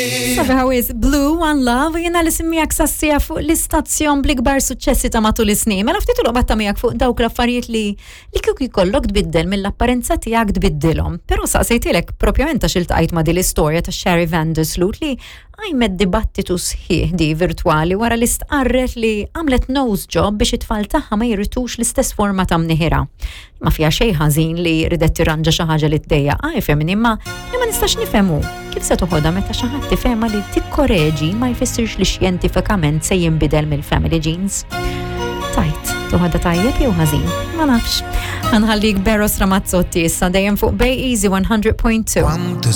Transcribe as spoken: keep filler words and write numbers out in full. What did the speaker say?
Sabiħa wisq, Blue One Love, jiena li miegħek sas-siegħa fuq l-istazzjon bl-ikbar suċċessi ta' matul is-snin. Mela ftit il-batta miegħek fuq dawk l-affarijiet li li kieku jkollok tbiddel mill-apparenza tiegħek tbiddilhom. Però saqsejtilek propjament għax iltqajt ma' din l-istorja ta' Sherry Vandersloot li għajmet dibattitu sħiħ di virtuali wara li stqarret li għamlet nose job biex it-tfal tagħha ma jirritux l-istess forma ta' mniħira. Ma fiha xejn ħażin li ridet tirranġa xi ħaġa li tdejjaq, ah, ifhimni, imma li ma nistax nifhemu kif se toħodha meta xi ħadd tifhema li tikkoreġi ma jfissirx li xjentifikament se jinbidel mill-family genes. Tajt, toħodha tajjeb jew ħażin? Ma nafx. Ħa nħallik b'Eros Ramazzotti issa dejjem fuq Bay Easy one hundred point two. Quanto.